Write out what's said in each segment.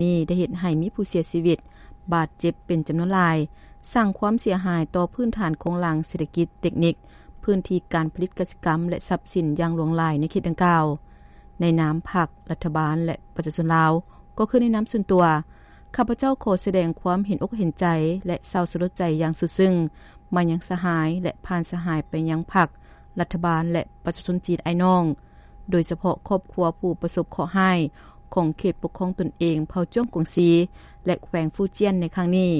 ນີ້ໄດ້ເຮັດໃຫ້ມີຜູ້ເສຍຊີວິດ, ບາດເຈັບເປັນຈຳນວນຫຼາຍ, ສ້າງຄວາມເສຍຫາຍຕໍ່ພື້ນຖານໂຄງລ່າງເສດຖະກິດ, ເຕັກນິກ, ພື້ນທີ່ການຜະລິດກະສິກຳ ແລະ ຊັບສິນຢ່າງຫຼວງຫຼາຍໃນເຂດດັ່ງກ່າວ. ໃນນາມພັກ, ລັດຖະບານ ແລະ ປະຊາຊົນລາວ, ກໍຄືໃນນາມສ່ວນຕົວ, ຂ້າພະເຈົ້າຂໍສະແດງຄວາມເຫັນອົກເຫັນໃຈ ແລະ ເສົ້າສະຫຼົດໃຈຢ່າງສຸດຊຶ້ງມາຍັງສະຫາຍ ແລະ ຜ່ານສະຫາຍໄປຍັງພັກ, ລັດຖະບານ ແລະ ປະຊາຊົນຈີນອ້າຍນ້ອງ, ໂດຍສະເພາະຄອບຄົວຜູ້ປະສົບເຄາະຮ້າຍຂອງເຂດປົກຄອງຕົນເອງເຜົ່າຈ້ວງກວາງຊີ ແລະ ແຂວງຟູຈຽນໃນຄັ້ງນີ້.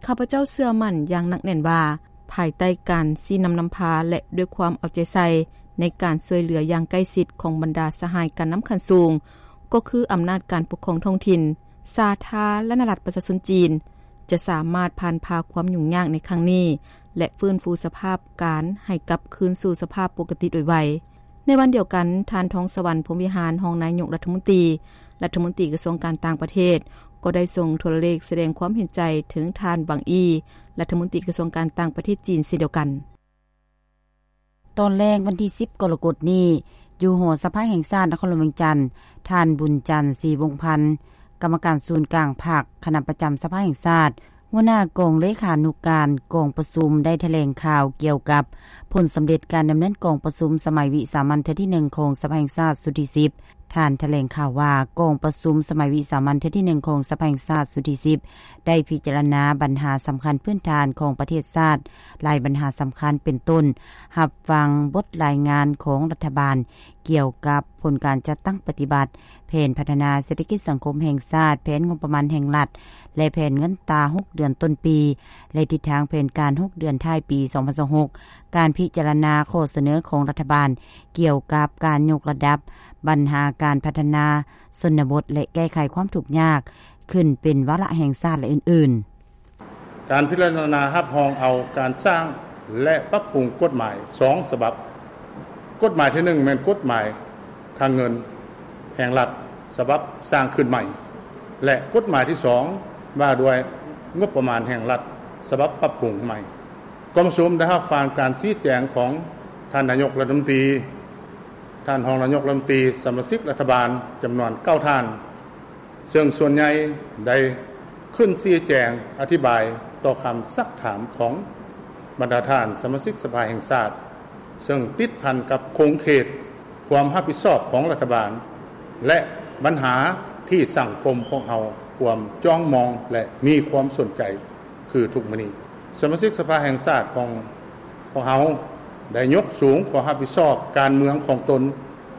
ຂ້າພະເຈົ້າເຊື່ອໝັ້ນຢ່າງໜັກແໜ້ນວ່າ, ພາຍໃຕ້ການຊີ້ນຳນຳພາ ແລະ ດ້ວຍຄວາມເອົາໃຈໃສ່ໃນການຊ່ວຍເຫຼືອຢ່າງໃກ້ຊິດຂອງບັນດາສະຫາຍການນຳຂັ້ນສູງ, ກໍຄືອຳນາດການປົກຄອງທ້ອງຖິ່ນ, ສາທາລະນະລັດປະຊາຊົນຈີນ ຈະສາມາດຜ່ານຜ່າຄວາມຫຍຸ້ງຍາກໃນຄັ້ງນີ້ ແລະ ຟື້ນຟູສະພາບການໃຫ້ກັບຄືນສູ່ສະພາບປົກກະຕິໂດຍໄວ. ໃນວັນດຽວກັນ, ທ່ານ ທອງສະຫວັນ ພົມວິຫານ ຮອງນາຍົກລັດຖະມົນຕີ, ລັດຖະມົນຕີກະຊວງການຕ່າງປະເທດ ກໍໄດ້ສົ່ງໂທລະເລກສະແດງຄວາມເຫັນໃຈເຖິງທ່ານ ວັງ ອີ ລັດຖະມົນຕີກະຊວງການຕ່າງປະເທດຈີນເຊັ່ນດຽວກັນ. ຕອນແລງວັນທີສິບ ກໍລະກົດນີ້, ຢູ່ຫໍສະພາແຫ່ງຊາດນະຄອນຫຼວງວຽງຈັນ, ທ່ານ ບຸນຈັນ ສີວົງພັນ ກຳມະການສູນກາງພັກ, ຄະນະປະຈຳສະພາແຫ່ງຊາດ, ຫົວໜ້າກອງເລຂານຸການກອງປະຊຸມ ໄດ້ຖະແຫຼງຂ່າວກ່ຽວກັບຜົນສຳເລັດການດຳເນີນກອງປະຊຸມສະໄໝວິສາມັນເທື່ອທີໜຶ່ງຂອງສະພາແຫ່ງຊາດຊຸດທີສິບ. ທ່ານຖະແຫຼງຂ່າວວ່າ, ກອງປະຊຸມສະໄໝວິສາມັນເທື່ອທີໜຶ່ງຂອງສະພາແຫ່ງຊາດຊຸດທີສິບ ໄດ້ພິຈາລະນາບັນຫາສຳຄັນພື້ນຖານຂອງປະເທດຊາດຫຼາຍບັນຫາສຳຄັນ ເປັນຕົ້ນ ຮັບຟັງບົດລາຍງານຂອງລັດຖະບານ ກ່ຽວກັບຜົນການຈັດຕັ້ງປະຕິບັດແຜນພັດທະນາເສດຖະກິດສັງຄົມແຫ່ງຊາດ, ແຜນງົບປະມານແຫ່ງລັດ ແລະ ແຜນເງິນຕາຫົກເດືອນຕົ້ນປີ ແລະ ທິດທາງແຜນການຫົກເດືອນທ້າຍປີສອງພັນຊາວຫົກ, ການພິຈາລະນາຂໍ້ສະເໜີຂອງລັດຖະບານກ່ຽວກັບການຍົກລະດັບບັນຫາການພັດທະນາຊົນນະບົດ ແລະ ແກ້ໄຂຄວາມທຸກຍາກຂຶ້ນເປັນວາລະແຫ່ງຊາດ ແລະ ອື່ນໆ. ການພິຈາລະນາຮັບຮອງເອົາການສ້າງ ແລະ ປັບປຸງກົດໝາຍສອງສະບັບ. ກົດໝາຍທີໜຶ່ງ ແມ່ນກົດໝາຍຄັງເງິນແຫ່ງລັດສະບັບສ້າງຂຶ້ນໃໝ່ ແລະ ກົດໝາຍທີສອງ ວ່າດ້ວຍງົບປະມານແຫ່ງລັດສະບັບປັບປຸງໃໝ່. ກອງປະຊຸມໄດ້ຮັບຟັງການຊີ້ແຈງຂອງທ່ານນາຍົກລັດຖະມົນຕີ, ທ່ານຮອງນາຍົກລັດຖະມົນຕີ, ສະມາຊິກລັດຖະບານຈຳນວນເກົ້າທ່ານ, ເຊິ່ງສ່ວນໃຫຍ່ໄດ້ຂຶ້ນຊີ້ແຈງອະທິບາຍຕໍ່ຄຳຊັກຖາມຂອງບັນດາທ່ານສະມາຊິກສະພາແຫ່ງຊາດ, ເຊິ່ງຕິດພັນກັບຂົງເຂດຄວາມຮັບຜິດຊອບຂອງລັດຖະບານ ແລະ ບັນຫາທີ່ສັງຄົມພວກເຮົາກວມຈ້ອງມອງ ແລະ ມີຄວາມສົນໃຈ ຄືທຸກມື້ນີ້. ສະມາຊິກສະພາແຫ່ງຊາດຂອງພວກເຮົາໄດ້ຍົກສູງຄວາມຮັບຜິດຊອບການເມືອງຂອງຕົນ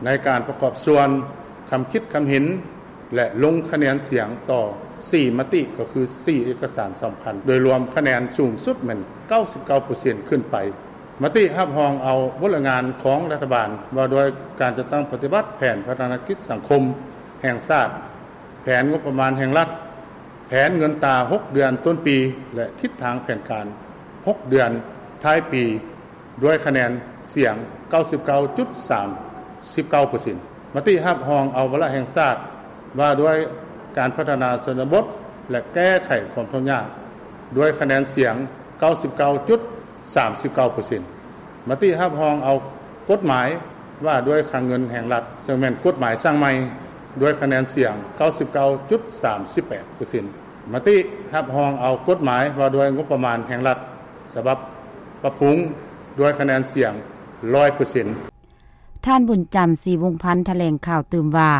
ໃນການປະກອບສ່ວນຄຳຄິດຄຳເຫັນ ແລະ ລົງຄະແນນສຽງຕໍ່ສີ່ມະຕິ ກໍຄືສີ່ເອກະສານສຳຄັນ, ໂດຍລວມຄະແນນສູງສຸດແມ່ນເກົ້າສິບເກົ້າເປີເຊັນຂຶ້ນໄປ. ມະຕິຮັບຮອງເອົາບົດລາຍງານຂອງລັດຖະບານວ່າດ້ວຍການຈັດຕັ້ງປະຕິບັດແຜນພັດທະນາກິດສັງຄົມແຫ່ງຊາດ, ແຜນງົບປະມານແຫ່ງລັດ, ແຜນເງິນຕາຫົກເດືອນຕົ້ນປີ ແລະ ທິດທາງແຜນການຫົກເດືອນທ້າຍປີ ດ້ວຍຄະແນນສຽງເກົ້າສິບເກົ້າຈຸດສາມສິບເກົ້າເປີເຊັນ. ມະຕິຮັບຮອງເອົາວາລະແຫ່ງຊາດວ່າດ້ວຍການພັດທະນາຊົນນະບົດ ແລະ ແກ້ໄຂຄວາມທຸກຍາກ ດ້ວຍຄະແນນສຽງເກົ້າສິບເກົ້າຈຸດສາມສິບເກົ້າເປີເຊັນ. ມະຕິຮັບຮອງເອົາກົດໝາຍວ່າດ້ວຍຄັງເງິນແຫ່ງລັດ, ເຊິ່ງແມ່ນກົດໝາຍສ້າງໃໝ່, ດ້ວຍຄະແນນສຽງເກົ້າສິບເກົ້າຈຸດສາມສິບແປດເປີເຊັນ. ມະຕິຮັບຮອງເອົາກົດໝາຍວ່າດ້ວຍງົບປະມານແຫ່ງລັດ ສະບັບປັບປຸງ ດ້ວຍຄະແນນສຽງຮ້ອຍເປີເຊັນ. ທ່ານ ບຸນຈັນ ສີວົງພັນ ຖະແຫຼງຂ່າວຕື່ມວ່າ,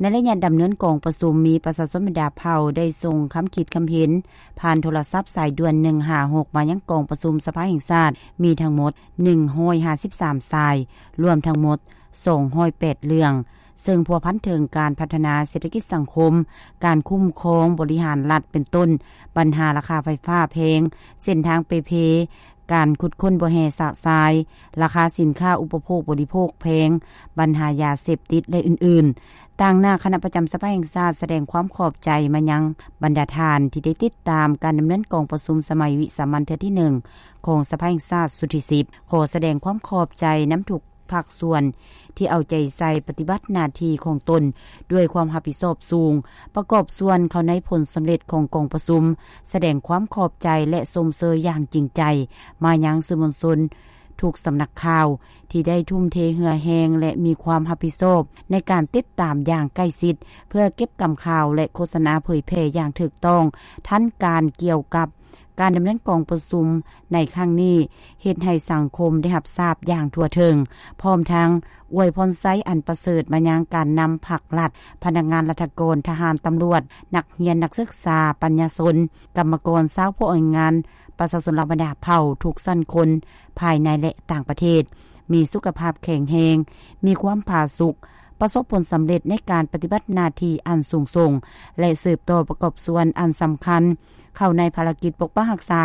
ໃນໄລຍະດຳເນີນກອງປະຊຸມ ມີປະຊາຊົນບັນດາເຜົ່າໄດ້ສົ່ງຄຳຄິດຄຳເຫັນຜ່ານໂທລະສັບສາຍດ່ວນໜຶ່ງຫ້າຫົກ ມາຍັງກອງປະຊຸມສະພາແຫ່ງຊາດ ມີທັງໝົດໜຶ່ງຮ້ອຍຫ້າສິບສາມສາຍ, ລວມທັງໝົດສອງຮ້ອຍແປດເລື່ອງ, ເຊິ່ງພົວພັນເຖິງການພັດທະນາເສດຖະກິດສັງຄົມ, ການຄຸ້ມຄອງບໍລິຫານລັດ ເປັນຕົ້ນ ບັນຫາລາຄາໄຟຟ້າແພງ, ເສັ້ນທາງເປ່ເພ, ການຂຸດຄົ້ນບໍ່ແຮ່ຊະຊາຍ, ລາຄາສິນຄ້າອຸປະໂພກບໍລິໂພກແພງ, ບັນຫາຢາເສບຕິດ ແລະ ອື່ນໆ. ຕາງໜ້າຄະນະປະຈຳສະພາແຫ່ງຊາດສະແດງຄວາມຂອບໃຈມາຍັງບັນດາທ່ານທີ່ໄດ້ຕິດຕາມການດຳເນີນກອງປະຊຸມສະໄໝວິສາມັນເທື່ອທີໜຶ່ງຂອງສະພາແຫ່ງຊາດຊຸດທີສິບ. ຂໍສະແດງຄວາມຂອບໃຈນຳທຸກ ພາກສ່ວນທີ່ເອົາໃຈໃສ່ປະຕິບັດໜ້າທີ່ຂອງຕົນດ້ວຍຄວາມຮັບຜິດຊອບສູງ, ປະກອບສ່ວນເຂົ້າໃນຜົນສຳເລັດຂອງກອງປະຊຸມ, ສະແດງຄວາມຂອບໃຈ ແລະ ຊົມເຊີຍຢ່າງຈິງໃຈມາຍັງສື່ມວນຊົນ ທຸກສຳນັກຂ່າວ ທີ່ໄດ້ທຸ່ມເທເຫື່ອແຮງ ແລະ ມີຄວາມຮັບຜິດຊອບ ໃນການຕິດຕາມຢ່າງໃກ້ຊິດ ເພື່ອເກັບກຳຂ່າວ ແລະ ໂຄສະນາເຜີຍແຜ່ຢ່າງຖືກຕ້ອງ ທັນການ ກ່ຽວກັບການດຳເນີນກອງປະຊຸມໃນຄັ້ງນີ້ ເຮັດໃຫ້ສັງຄົມໄດ້ຮັບຊາບຢ່າງທົ່ວເຖິງ, ພ້ອມທັງອວຍພອນໄຊອັນປະເສີດມາຍັງການນຳພັກລັດ, ພະນັກງານລັດຖະກອນ, ທະຫານ, ຕຳຫຼວດ, ນັກຮຽນ, ນັກສຶກສາ, ປັນຍາຊົນ, ກຳມະກອນ, ຊາວຜູ້ອອກແຮງງານ, ປະຊາຊົນລາວບັນດາເຜົ່າທຸກຊັ້ນຄົນ ພາຍໃນ ແລະ ຕ່າງປະເທດ ມີສຸຂະພາບແຂງແຮງ, ມີຄວາມຜາສຸກ, ປະສົບຜົນສຳເລັດໃນການປະຕິບັດໜ້າທີ່ອັນສູງສົ່ງ ແລະ ສືບຕໍ່ປະກອບສ່ວນອັນສຳຄັນ ເຂົ້າໃນພາລະກິດປົກປັກຮັກສາ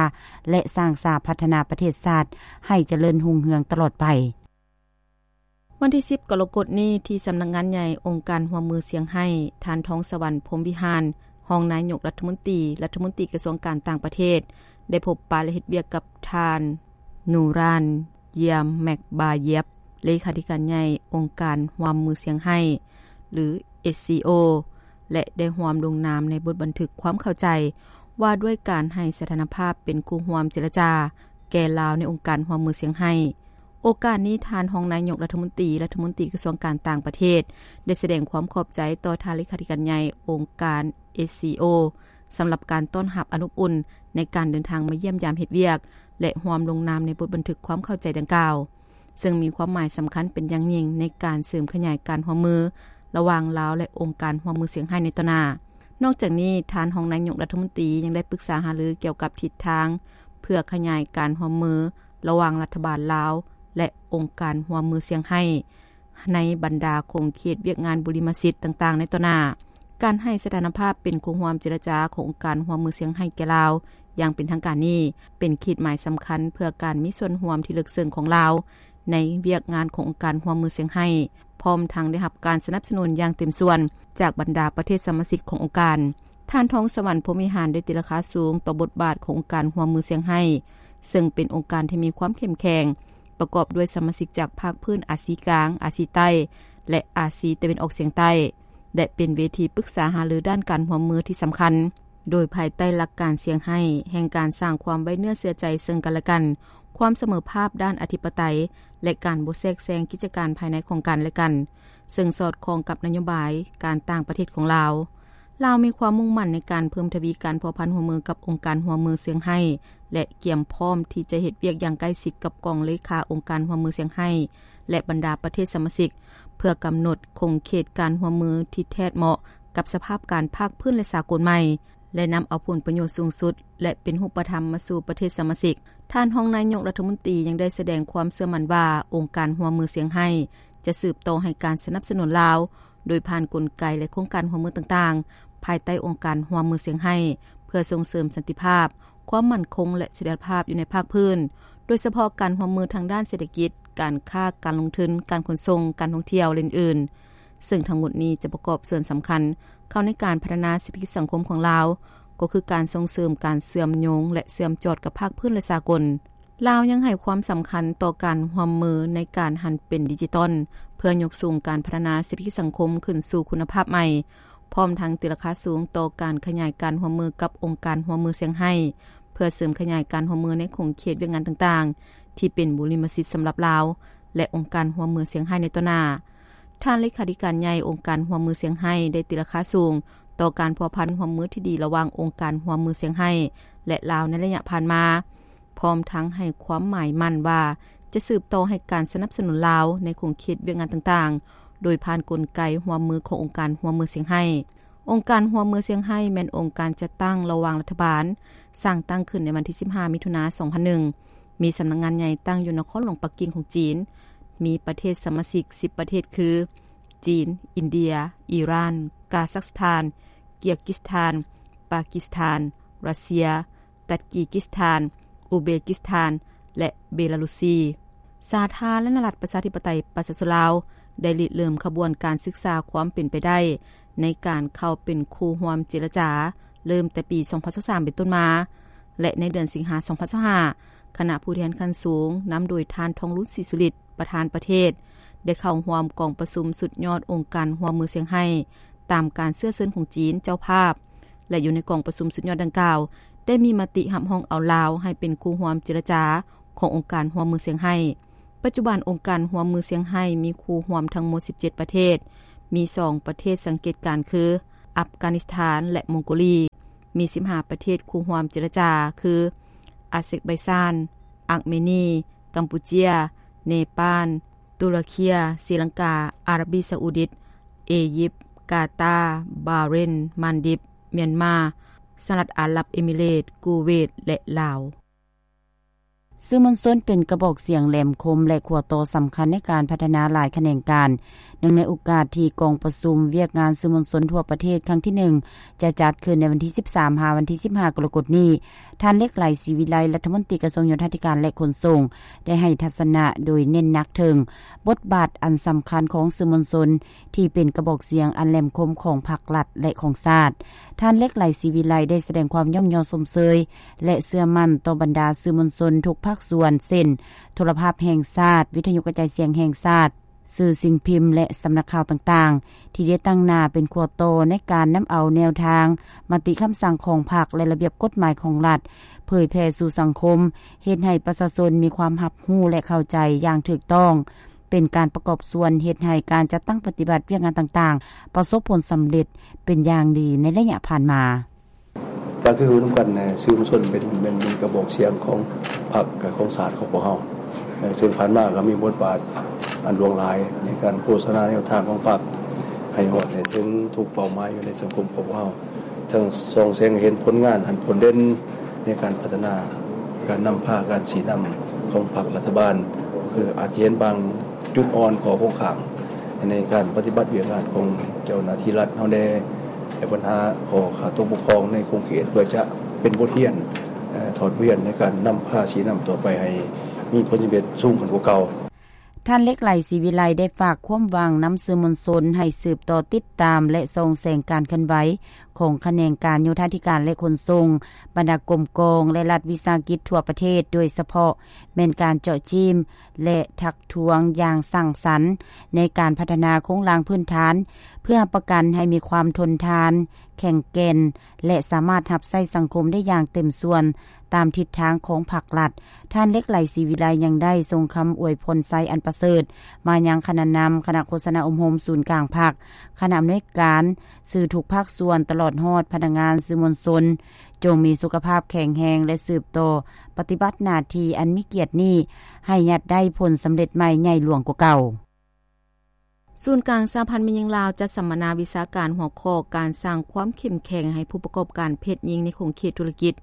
ແລະ ສ້າງສາພັດທະນາປະເທດຊາດໃຫ້ຈະເລີນຮຸ່ງເຮືອງຕະຫຼອດໄປ. ວັນທີສິບ ກໍລະກົດນີ້ ທີ່ສຳນັກງານໃຫຍ່ ອົງການຮ່ວມມືຊຽງໄຮ້ ທ່ານ ທອງສະຫວັນ ພົມວິຫານ ຮອງນາຍົກລັດຖະມົນຕີ, ລັດຖະມົນຕີກະຊວງການຕ່າງປະເທດ ໄດ້ພົບປະ ແລະ ເຮັດວຽກກັບທ່ານ ນູຣານ ເຢຍມແມັກບາເຢຍບ ເລຂາທິການໃຫຍ່ອົງການຮ່ວມມືຊຽງໄຮ້ ຫຼື ເອສຊີໂອ ແລະ ໄດ້ຮ່ວມລົງນາມໃນບົດບັນທຶກຄວາມເຂົ້າໃຈ ວ່າດ້ວຍການໃຫ້ສະຖານະພາບເປັນຄູ່ຮ່ວມເຈລະຈາແກ່ລາວໃນອົງການຮ່ວມມືຊຽງໄຮ້. ໂອກາດນີ້ ທ່ານຮອງນາຍົກລັດຖະມົນຕີ, ລັດຖະມົນຕີກະຊວງການຕ່າງປະເທດ ໄດ້ສະແດງຄວາມຂອບໃຈຕໍ່ທ່ານເລຂາທິການໃຫຍ່ອົງການ ເອສຊີໂອ ສຳລັບການຕ້ອນຮັບອັນອົບອຸ່ນໃນການເດີນທາງມາຢ້ຽມຢາມເຮັດວຽກ ແລະ ຮ່ວມລົງນາມໃນບົດບັນທຶກຄວາມເຂົ້າໃຈດັ່ງກ່າວ, ເຊິ່ງມີຄວາມໝາຍສຳຄັນເປັນຢ່າງຍິ່ງໃນການເສີມຂະຫຍາຍການຮ່ວມມືລະຫວ່າງລາວ ແລະ ອົງການຮ່ວມມືຊຽງໄຮ້ໃນຕໍ່ໜ້າ. ນອກຈາກນີ້, ທ່ານຮອງນາຍົກລັດຖະມົນຕີ ຍັງໄດ້ປຶກສາຫາລືກ່ຽວກັບທິດທາງ ເພື່ອຂະຫຍາຍການຮ່ວມມືລະຫວ່າງລັດຖະບານລາວ ແລະ ອົງການຮ່ວມມືຊຽງໄຮ້ ໃນບັນດາຂົງເຂດວຽກງານບຸລິມະສິດຕ່າງໆໃນຕໍ່ໜ້າ. ການໃຫ້ສະຖານະພາບເປັນຄູ່ຮ່ວມເຈລະຈາຂອງອົງການຮ່ວມມືຊຽງໄຮ້ແກ່ລາວຢ່າງເປັນທາງການນີ້ ເປັນຂີດໝາຍສຳຄັນເພື່ອການມີສ່ວນຮ່ວມທີ່ເລິກເຊິ່ງຂອງລາວໃນວຽກງານຂອງອົງການຮ່ວມມືຊຽງໄຮ້, ພ້ອມທັງໄດ້ຮັບການສະໜັບສະໜູນຢ່າງເຕັມສ່ວນຈາກບັນດາປະເທດສະມາຊິກຂອງອົງການ. ທ່ານ ທອງສະຫວັນ ພົມວິຫານ ໄດ້ຕີລາຄາສູງຕໍ່ບົດບາດຂອງອົງການຮ່ວມມືຊຽງໄຮ້, ເຊິ່ງເປັນອົງການທີ່ມີຄວາມເຂັ້ມແຂງ, ປະກອບດ້ວຍສະມາຊິກຈາກພາກພື້ນອາຊີກາງ, ອາຊີໃຕ້ ແລະ ອາຊີຕາເວັນອອກສຽງໃຕ້ ແລະ ເປັນເວທີປຶກສາຫາລືດ້ານການຮ່ວມມືທີ່ສຳຄັນ, ໂດຍພາຍໃຕ້ຫຼັກການຊຽງໄຮ້ ແຫ່ງການສ້າງຄວາມໄວ້ເນື້ອເຊື່ອໃຈເຊິ່ງກັນແລະກັນ, ຄວາມສະເໝີພາບດ້ານອະທິປະໄຕ ແລະ ການບໍ່ແຊກແຊງກິດຈະການພາຍໃນຂອງກັນແລະກັນ, ເຊິ່ງສອດຄ່ອງກັບນະໂຍບາຍການຕ່າງປະເທດຂອງລາວ. ລາວມີຄວາມມຸ່ງໝັ້ນໃນການເພີ່ມທະວີການພົວພັນຮ່ວມມືກັບອົງການຮ່ວມມືຊຽງໄຮ້ ແລະ ກຽມພ້ອມທີ່ຈະເຮັດວຽກຢ່າງໃກ້ຊິດກັບກອງເລຂາອົງການຮ່ວມມືຊຽງໄຮ້ ແລະ ບັນດາປະເທດສະມາຊິກ ເພື່ອກຳນົດຂົງເຂດການຮ່ວມມືທີ່ແທດເໝາະກັບສະພາບການພາກພື້ນ ແລະ ສາກົນໃໝ່ ແລະ ນຳເອົາຜົນປະໂຫຍດສູງສຸດ ແລະ ເປັນຮູບປະທຳມາສູ່ປະເທດສະມາຊິກ. ທ່ານຮອງນາຍົກລັດຖະມົນຕີຍັງໄດ້ສະແດງຄວາມເຊື່ອໝັ້ນວ່າ ອົງການຮ່ວມມືຊຽງໄຮ້ຈະສືບຕໍ່ໃຫ້ການສະໜັບສະໜູນລາວ ໂດຍຜ່ານກົນໄກ ແລະ ໂຄງການຮ່ວມມືຕ່າງໆ ພາຍໃຕ້ອົງການຮ່ວມມືຊຽງໄຮ້ ເພື່ອສົ່ງເສີມສັນຕິພາບ, ຄວາມໝັ້ນຄົງ ແລະ ສະຖຽນລະພາບຢູ່ໃນພາກພື້ນ, ໂດຍສະເພາະການຮ່ວມມືທາງດ້ານເສດຖະກິດ, ການຄ້າ, ການລົງທຶນ, ການຂົນສົ່ງ, ການທ່ອງທ່ຽວ ແລະ ອື່ນໆ. ເຊິ່ງທັງໝົດນີ້ຈະປະກອບສ່ວນສຳຄັນເຂົ້າໃນການພັດທະນາເສດຖະກິດສັງຄົມຂອງລາວ, ກໍຄືການສົ່ງເສີມການເຊື່ອມໂຍງ ແລະ ເຊື່ອມຈອດກັບພາກພື້ນ ແລະ ສາກົນ. ລາວຍັງໃຫ້ຄວາມສຳຄັນຕໍ່ການຮ່ວມມືໃນການຫັນເປັນດິຈິຕອນ ເພື່ອຍົກສູງການພັດທະນາເສດຖະກິດສັງຄົມຂຶ້ນສູ່ຄຸນນະພາບໃໝ່, ພ້ອມທັງຕີລາຄາສູງຕໍ່ການຂະຫຍາຍການຮ່ວມມືກັບອົງການຮ່ວມມືຊຽງໄຮ້ ເພື່ອເສີມຂະຫຍາຍການຮ່ວມມືໃນຂົງເຂດວຽກງານຕ່າງໆ ທີ່ເປັນບຸລິມະສິດສຳລັບລາວ ແລະ ອົງການຮ່ວມມືຊຽງໄຮ້ໃນຕໍ່ໜ້າ. ທ່ານເລຂາທິການໃຫຍ່ອົງການຮ່ວມມືຊຽງໄຮ້ ໄດ້ຕີລາຄາສູງຕໍ່ການພົວພັນຮ່ວມມືທີ່ດີລະຫວ່າງອົງການຮ່ວມມືຊຽງໄຮ້ ແລະ ລາວໃນໄລຍະຜ່ານມາ, ພ້ອມທັງໃຫ້ຄວາມໝາຍໝັ້ນວ່າຈະສືບຕໍ່ໃຫ້ການສະໜັບສະໜູນລາວໃນຂົງເຂດວຽກງານຕ່າງໆ ໂດຍຜ່ານກົນໄກຮ່ວມມືຂອງອົງການຮ່ວມມືຊຽງໄຮ້. ອົງການຮ່ວມມືຊຽງໄຮ້ແມ່ນອົງການຈັດຕັ້ງລະຫວ່າງລັດຖະບານ, ສ້າງຕັ້ງຂຶ້ນໃນວັນທີສິບຫ້າ ມິຖຸນາ ສອງພັນໜຶ່ງ, ມີສຳນັກງານໃຫຍ່ຕັ້ງຢູ່ນະຄອນຫຼວງປັກກິ່ງຂອງຈີນ, ມີປະເທດສະມາຊິກສິບປະເທດຄື ຈີນ, ອິນເດຍ, ອີຣານ, ກາຊັກສະຖານ, ກີກິສຖານ, ປາກິສຖານ, ຣັດເຊຍ, ຕັດກີກິສຖານ, ອູເບກິສຖານ ແລະ ເບລາຣຸສ. ສາທາລະນະລັດປະຊາທິປະໄຕປະຊາຊົນລາວ ໄດ້ລິເລີ່ມຂະບວນການສຶກສາຄວາມເປັນໄປໄດ້ໃນການເຂົ້າເປັນຄູ່ຮ່ວມເຈລະຈາ ເລີ່ມແຕ່ປີສອງພັນຊາວສາມເປັນຕົ້ນມາ ແລະ ໃນເດືອນສິງຫາ ສອງພັນຊາວຫ້າ ຄະນະຜູ້ແທນຂັ້ນສູງ ນຳໂດຍທ່ານ ທອງລຸນ ສີສຸລິດ ປະທານປະເທດ ໄດ້ເຂົ້າຮ່ວມກອງປະຊຸມສຸດຍອດອົງການຮ່ວມມືຊຽງໄຮ້ ຕາມການເຊື້ອເຊີນຂອງຈີນເຈົ້າພາບ ແລະ ຢູ່ໃນກອງປະຊຸມສຸດຍອດດັ່ງກ່າວ ໄດ້ມີມະຕິຮັບຮອງເອົາລາວໃຫ້ເປັນຄູ່ຮ່ວມເຈລະຈາຂອງອົງການຮ່ວມມືຊຽງໄຮ້. ປັດຈຸບັນ ອົງການຮ່ວມມືຊຽງໄຮ້ມີຄູ່ຮ່ວມທັງໝົດສິບເຈັດປະເທດ, ມີສອງປະເທດສັງເກດການຄື ອັຟການິສຖານ ແລະ ມົງໂກລີ, ມີສິບຫ້າປະເທດຄູ່ຮ່ວມເຈລະຈາຄື ອາເຊັກໄບຊານ, ອາກເມນີ, ກຳປູເຈຍ, ເນປານ, ຕຸລະເຄຍ, ສີລັງກາ, ອາຣັບບີຊາອຸດິດ, ເອຢິບ, ກາຕາ, ບາເຣນ, ມານດິບ, ມຽນມາ, ສະຫະລັດອາຣັບເອມິເຣດ, ກູເວດ ແລະ ລາວ. ສື່ມວນຊົນເປັນກະບອກສຽງແຫຼມຄົມ ແລະ ຂົວຕໍ່ສຳຄັນໃນການພັດທະນາຫຼາຍຂະແໜງການ. ເນື່ອງໃນໂອກາດທີ່ກອງປະຊຸມວຽກງານສື່ມວນຊົນທົ່ວປະເທດຄັ້ງທີໜຶ່ງ ຈະຈັດຂຶ້ນໃນວັນທີສິບສາມ ຫາ ວັນທີສິບຫ້າ ກໍລະກົດນີ້, ທ່ານ ເລັກໄຫຼ ສີວິໄລ ລັດຖະມົນຕີກະຊວງໂຍທາທິການ ແລະ ຂົນສົ່ງ ໄດ້ໃຫ້ທັດສະນະໂດຍເນັ້ນໜັກເຖິງບົດບາດອັນສຳຄັນຂອງສື່ມວນຊົນ ທີ່ເປັນກະບອກສຽງອັນແຫຼມຄົມຂອງພັກລັດ ແລະ ຂອງຊາດ. ທ່ານ ເລັກໄຫຼ ສີວິໄລ ໄດ້ສະແດງຄວາມຍ້ອງຍໍຊົມເຊີຍ ແລະ ເຊື່ອໝັ້ນຕໍ່ບັນດາສື່ມວນຊົນທຸກພາກສ່ວນ ເຊັ່ນ ໂທລະພາບແຫ່ງຊາດ, ວິທະຍຸກະຈາຍສຽງແຫ່ງຊາດ, ສື່ສິ່ງພິມ ແລະ ສຳນັກຂ່າວຕ່າງໆ ທີ່ໄດ້ຕັ້ງໜ້າເປັນຂົວຕໍ່ໃນການນຳເອົາແນວທາງ, ມະຕິຄຳສັ່ງຂອງພັກ ແລະ ລະບຽບກົດໝາຍຂອງລັດ ເຜີຍແຜ່ສູ່ສັງຄົມ, ເຮັດໃຫ້ປະຊາຊົນມີຄວາມຮັບຮູ້ ແລະ ເຂົ້າໃຈຢ່າງຖືກຕ້ອງ, ເປັນການປະກອບສ່ວນເຮັດໃຫ້ການຈັດຕັ້ງປະຕິບັດວຽກງານຕ່າງໆ ປະສົບຜົນສຳເລັດເປັນຢ່າງດີໃນໄລຍະຜ່ານມາ. ກໍຄືຮູ້ນຳກັນນະ ສື່ມວນຊົນເປັນ ເປັນ ເປັນກະບອກສຽງຂອງພັກ ແລະ ຂອງຊາດຂອງພວກເຮົາ. ເຊິ່ງຜ່ານມາກໍມີບົດບາດອັນຫຼວງຫຼາຍໃນການໂຄສະນາແນວທາງຂອງພັກ ໃຫ້ຮອດໃຫ້ເຖິງທຸກເປົ້າໝາຍຢູ່ໃນສັງຄົມຂອງພວກເຮົາ. ທັງສ່ອງແສງໃຫ້ເຫັນຜົນງານອັນໂດດເດັ່ນໃນການພັດທະນາ, ການນຳພາ, ການຊີ້ນຳຂອງພັກລັດຖະບານ. ຄືອາດຈະເຫັນບາງຈຸດອ່ອນ, ຂໍ້ຄົງຄ້າງໃນການປະຕິບັດວຽກງານຂອງເຈົ້າໜ້າທີ່ລັດເຮົາແດ່, ແລະ ບັນຫາຂໍ້ຂາດຕົກບົກຜ່ອງໃນຂົງເຂດ ເພື່ອຈະເປັນບົດຮຽນ, ເອີ, ຖອດບົດຮຽນໃນການນຳພາຊີ້ນຳຕໍ່ໄປໃຫ້ມີຜົນສຳເລັດສູງຂຶ້ນກວ່າເກົ່າ. ທ່ານ ເລັກໄຫຼ ສີວິໄລ ໄດ້ຝາກຄວາມຫວັງນຳສື່ມວນຊົນໃຫ້ສືບຕໍ່ຕິດຕາມ ແລະ ສ່ອງແສງການເຄື່ອນໄຫວຂອງຂະແໜງການໂຍທາທິການ ແລະ ຂົນສົ່ງ, ບັນດາກົມກອງ ແລະ ລັດວິສາຫະກິດທົ່ວປະເທດ, ໂດຍສະເພາະແມ່ນການເຈາະຈີ້ມ ແລະ ທັກທ້ວງຢ່າງສ້າງສັນໃນການພັດທະນາໂຄງລ່າງພື້ນຖານ ເພື່ອຮັບປະກັນໃຫ້ມີຄວາມທົນທານ, ແຂງແກ່ນ ແລະ ສາມາດຮັບໃຊ້ສັງຄົມໄດ້ຢ່າງເຕັມສ່ວນ ຕາມທິດທາງຂອງພັກລັດ. ທ່ານ ເລັກໄຫຼ ສີວິໄລ ຍັງໄດ້ສົ່ງຄຳອວຍພອນໄຊອັນປະເສີດມາຍັງຄະນະນຳ, ຄະນະໂຄສະນາອົບຮົມສູນກາງພັກ, ຄະນະອຳນວຍການ, ສື່ທຸກພາກສ່ວນ, ຕະຫຼອດຮອດພະນັກງານສື່ມວນຊົນ, ຈົ່ງມີສຸຂະພາບແຂງແຮງ ແລະ ສືບຕໍ່ປະຕິບັດໜ້າທີ່ອັນມີກຽດນີ້ ໃຫ້ຍາດໄດ້ຜົນສຳເລັດໃໝ່ໃຫຍ່ຫຼວງກວ່າເກົ່າ. ສູນກາງສະຫະພັນແມ່ຍິງລາວ ຈັດສຳມະນາວິຊາການຫົວຂໍ້ ການສ້າງຄວາມເຂັ້ມແຂງໃຫ້ຜູ້ປະກອບການເພດຍິງໃນຂົງເຂດທຸລະກິດ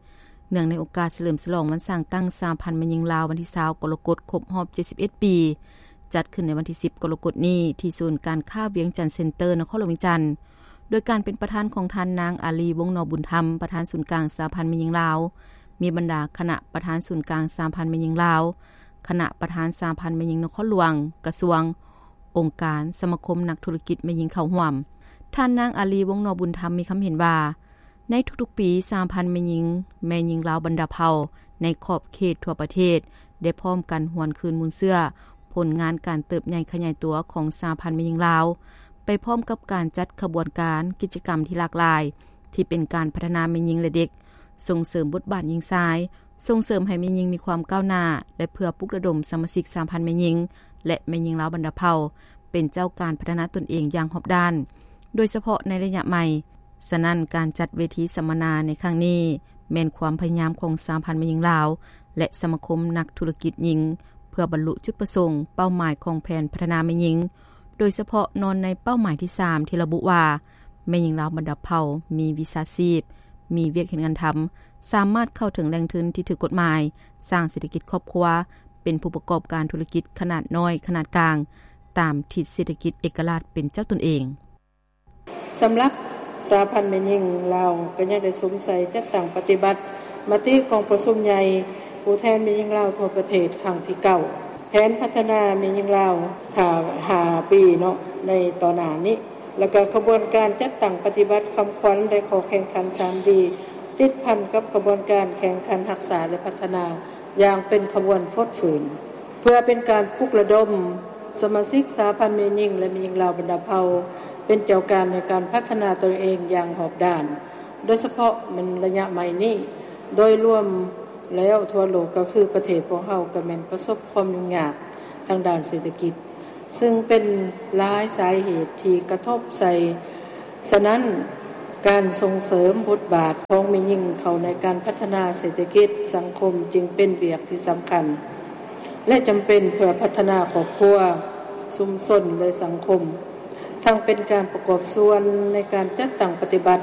ເນື່ອງໃນໂອກາດສະເຫຼີມສະຫຼອງວັນສ້າງຕັ້ງສະຫະພັນແມ່ຍິງລາວ ວັນທີຊາວ ກໍລະກົດ ຄົບຮອບ ເຈັດສິບເອັດ ປີ, ຈັດຂຶ້ນໃນວັນທີສິບ ກໍລະກົດນີ້ ທີ່ສູນການຄ້າວຽງຈັນເຊັນເຕີ ນະຄອນຫຼວງວຽງຈັນ, ໂດຍການເປັນປະທານຂອງທ່ານນາງ ອາລີ ວົງນໍບຸນທຳ, ປະທານສູນກາງສະຫະພັນແມ່ຍິງລາວ, ມີບັນດາຄະນະປະທານສູນກາງສະຫະພັນແມ່ຍິງລາວ, ຄະນະປະທານສະຫະພັນແມ່ຍິງນະຄອນຫຼວງ, ກະຊວງ, ອົງການ, ສະມາຄົມນັກທຸລະກິດແມ່ຍິງເຂົ້າຮ່ວມ. ທ່ານນາງ ອາລີ ວົງນໍບຸນທຳ ມີຄຳເຫັນວ່າ, ໃນທຸກໆປີ, ສະຫະພັນແມ່ຍິງ, ແມ່ຍິງລາວບັນດາເຜົ່າ ໃນຂອບເຂດທົ່ວປະເທດ ໄດ້ພ້ອມກັນຫວນຄືນມູນເຊື້ອ ຜົນງານການເຕີບໃຫຍ່ຂະຫຍາຍຕົວຂອງສະຫະພັນແມ່ຍິງລາວ, ໄປພ້ອມກັບການຈັດຂະບວນການ, ກິດຈະກຳທີ່ຫຼາກຫຼາຍ ທີ່ເປັນການພັດທະນາແມ່ຍິງ ແລະ ເດັກ, ສົ່ງເສີມບົດບາດຍິງຊາຍ, ສົ່ງເສີມໃຫ້ແມ່ຍິງມີຄວາມກ້າວໜ້າ ແລະ ເພື່ອປຸກລະດົມສະມາຊິກສະຫະພັນແມ່ຍິງ ແລະ ແມ່ຍິງລາວບັນດາເຜົ່າ ເປັນເຈົ້າການພັດທະນາຕົນເອງຢ່າງຮອບດ້ານ, ໂດຍສະເພາະໃນໄລຍະໃໝ່. ສະນັ້ນ, ການຈັດເວທີສຳມະນາໃນຄັ້ງນີ້ ແມ່ນຄວາມພະຍາຍາມຂອງສະຫະພັນແມ່ຍິງລາວ ແລະ ສະມາຄົມນັກທຸລະກິດຍິງ ເພື່ອບັນລຸຈຸດປະສົງ, ເປົ້າໝາຍຂອງແຜນພັດທະນາແມ່ຍິງ, ໂດຍສະເພາະນອນໃນເປົ້າໝາຍທີສາມ ທີ່ລະບຸວ່າ ແມ່ຍິງລາວບັນດາເຜົ່າມີວິຊາຊີບ, ມີວຽກເຮັດງານທຳ, ສາມາດເຂົ້າເຖິງແຫຼ່ງທຶນທີ່ຖືກກົດໝາຍ, ສ້າງເສດຖະກິດຄອບຄົວ, ເປັນຜູ້ປະກອບການທຸລະກິດຂະໜາດນ້ອຍ, ຂະໜາດກາງ, ຕາມທິດເສດຖະກິດເອກະລາດເປັນເຈົ້າຕົນເອງ. ສຳລັບສະຫະພັນແມ່ຍິງລາວ ກໍຍັງໄດ້ສຸມໃສ່ຈັດຕັ້ງປະຕິບັດມະຕິກອງປະຊຸມໃຫຍ່ຜູ້ແທນແມ່ຍິງລາວທົ່ວປະເທດຄັ້ງທີເກົ້າ ແຜນພັດທະນາແມ່ຍິງລາວຫ້າ ຫ້າປີເນາະ ໃນຕໍ່ໜ້ານີ້ ແລ້ວກໍຂະບວນການຈັດຕັ້ງປະຕິບັດຄຳຂວັນ ແລະ ຂໍ້ແຂ່ງຂັນສາມດີ ຕິດພັນກັບຂະບວນການແຂ່ງຂັນຮັກສາ ແລະ ພັດທະນາຢ່າງເປັນຂະບວນຟົດຟື້ນ ເພື່ອເປັນການປຸກລະດົມສະມາຊິກສະຫະພັນແມ່ຍິງ ແລະ ແມ່ຍິງລາວບັນດາເຜົ່າ ເປັນເຈົ້າການໃນການພັດທະນາຕົນເອງຢ່າງຮອບດ້ານ, ໂດຍສະເພາະແມ່ນໄລຍະໃໝ່ນີ້. ໂດຍລວມແລ້ວທົ່ວໂລກກໍຄືປະເທດພວກເຮົາກໍແມ່ນປະສົບຄວາມຫຍຸ້ງຍາກ ທາງດ້ານເສດຖະກິດ ຊຶ່ງເປັນຫຼາຍສາເຫດທີ່ກະທົບໃສ່. ສະນັ້ນ, ການສົ່ງເສີມບົດບາດຂອງແມ່ຍິງເຂົ້າໃນການພັດທະນາເສດຖະກິດສັງຄົມຈຶ່ງເປັນວຽກທີ່ສຳຄັນ ແລະ ຈຳເປັນເພື່ອພັດທະນາຄອບຄົວ, ຊຸມຊົນ ແລະ ສັງຄົມ, ທັງເປັນການປະກອບສ່ວນໃນການຈັດຕັ້ງປະຕິບັດ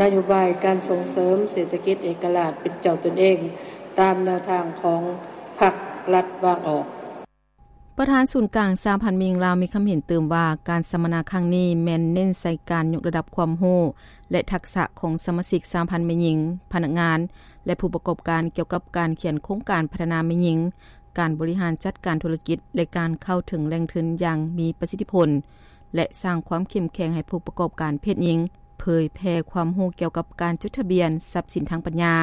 ນະໂຍບາຍການສົ່ງເສີມເສດຖະກິດເອກະລາດເປັນເຈົ້າຕົນເອງ ຕາມແນວທາງຂອງພັກລັດວາງອອກ. ປະທານສູນກາງສະຫະພັນແມ່ຍິງລາວມີຄຳເຫັນຕື່ມວ່າ ການສຳມະນາຄັ້ງນີ້ແມ່ນເນັ້ນໃສ່ການຍົກລະດັບຄວາມຮູ້ ແລະ ທັກສະຂອງສະມາຊິກສະຫະພັນແມ່ຍິງ, ພະນັກງານ ແລະ ຜູ້ປະກອບການ ກ່ຽວກັບການຂຽນໂຄງການພັດທະນາແມ່ຍິງ, ການບໍລິຫານຈັດການທຸລະກິດ ແລະ ການເຂົ້າເຖິງແຫຼ່ງທຶນຢ່າງມີປະສິດທິຜົນ ແລະ ສ້າງຄວາມເຂັ້ມແຂງໃຫ້ຜູ້ປະກອບການເພດຍິງ, ເຜີຍແຜ່ຄວາມຮູ້ກ່ຽວກັບການຈົດທະບຽນຊັບສິນທາງປັນຍາ,